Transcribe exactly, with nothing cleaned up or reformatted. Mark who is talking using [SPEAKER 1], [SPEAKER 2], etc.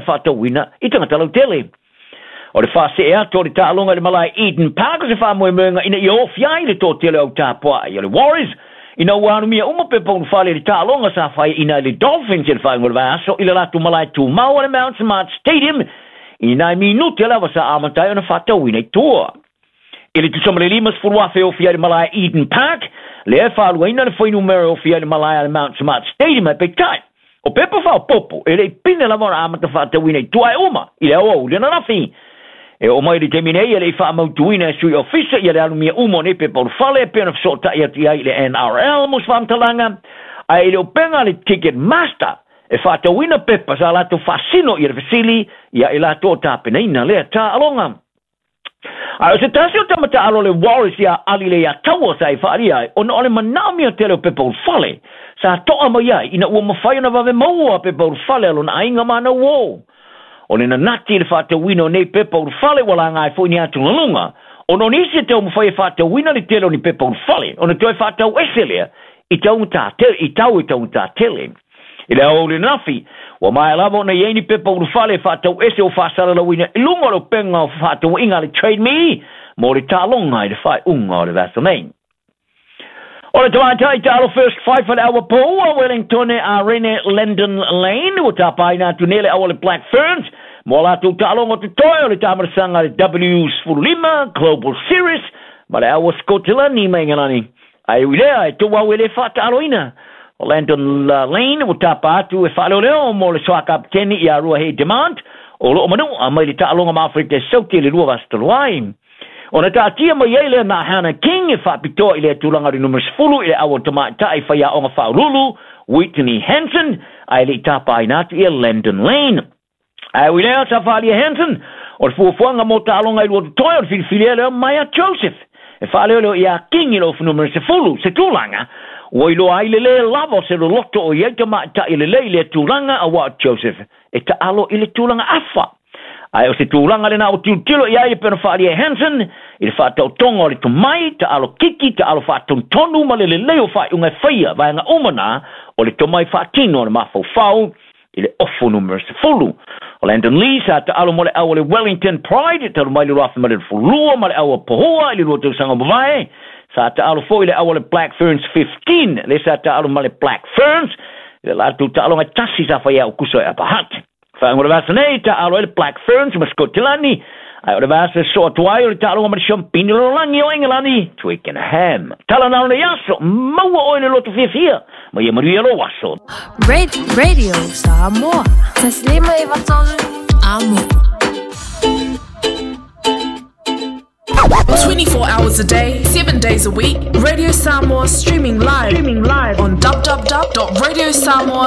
[SPEAKER 1] Faatauina i tagata lautele. O le faasee atu o le taaloga i le malae Eden Park o se faamoemoega ina ia ofi ai le toatele au tapuai o le Warriors ina ua alumia uma pepa ulufale i le taaloga sa faiaina i le Dolphins i le faaiuga o le vaiaso i le latou malae tumau o le Mount Smart Stadium i nai minute lava sa amata ai ona faatauina i tua. I le tusa ma le limasefulu afe e ofi ai le malae Eden Park, lea e faaluaina le fuainumera e ofi ai le malae a le Mount Smart Stadium ae peitai, o pepa faaopoopo e le i pine lava ona amata faatauina i tua e uma i le aoauli ananafi. E oo mai i le taimi nei e le i faamautuina e sui ofisa ia le alumia uma o nei pepa ulufale e pei ona fesootai atu i ai i le N R L mo se faamatalaga, ae i le upega a le Ticketmaster e faatauina pepa sa latou faasino ia le fesili ia i latou o tapenaina lea taaloga. Ae o se tasi o tama taalo le Warriors ia Ali Leiataua sa i faaalia ai ona o le manaomia tele o pepa ulufale sa toa mai ai ina ua mafai ona vave maua pepa ulufale a lona aiga ma ana uō. O le nanati i le faatauina o nei pepa ulufale ua laga ai foi ni atugaluga ona o nisi e taumafai e faatauina le tele o ni pepa ulufale ona toe faatau ese lea i taugata tele, i tau e taugata tele. I le aoauli ananafi, ua maea lava ona i ai ni pepa ulufale e faatau ese o faasalalauina i luga o le upega o fefaatauaiga a le Trade Me mo le taaloga i le faaiuga o le vaiaso nei. O le tamaitai taalo First Five a le aua poua Wellingtone a Rene Landon Lane ua tapaina atu nei le aua le Black Ferns mo a latou taaloga o totoe o le taamalasaga a le W sefululima Global Series ma le aua Sikotilani ma Ingelani. Ae ui lea e tou au e le faataaloina. O Landon Lane ua tapa atu e faaleoleo mo le soa kapiteni ia Ruahei Demant o loo manu'a mai le taaloga ma Afrika Sauti i le lua vaiaso talu ai. Ona taatia mai ai lea na Hannah King e faapitoa i lea tulaga o le numera sefulu i le aua tamaitai faiaoga faauluulu Whitney Hansen ae le i tapaina atu ia Landon Lane. Ae ui lea sa faaalia Hansen o le fuafuaga mo taaloga i lua totoe o le filifilia lea Maya Joseph e faaleoleo ia King i le ofu numera sefulu se tulaga ua iloa ai le lē lava o se loloto o i ai tamaitai lelei i lea tulaga auā o Joseph e taalo i le tulaga afa. Ae o se tulaga lena ua tilotilo i ai e pei ona faaalia e Hansen i le faataotoga o le tomai, taalo kiki, taalo faatonutonu ma le lelei o faaiuga e faia vaega uma na o le tomai faatino o le mafaufau i le ofu numera sefulu. O Landon Lee sa taalo mo le au o le Wellington Pride talu mai le lua afe ma le sefululua ma le au o Pohua i le lua tausaga o mavae. Sa taalo foi le au o le Black Ferns fifteen, le sa taalo ma le Black Ferns i le latou taaloga e tasi sa faia Aukuso e Upper Hutt. Faaiuga o le vaiaso nei, taalo ai le Black Ferns ma Sikotilani, ae o le vaiaso e soo atu ai o le taaloga ma le Siampini o le lalolagi o Engelani, Twickenham. Tala na o nei aso, maua oe le loto fiafia, ma ia manuia lou aso.
[SPEAKER 2] Radio Samoa. Taslima e vatolu. Amo.
[SPEAKER 3] twenty-four hours a day, seven days a week, Radio Samoa streaming live, streaming live on w w w dot radio samoa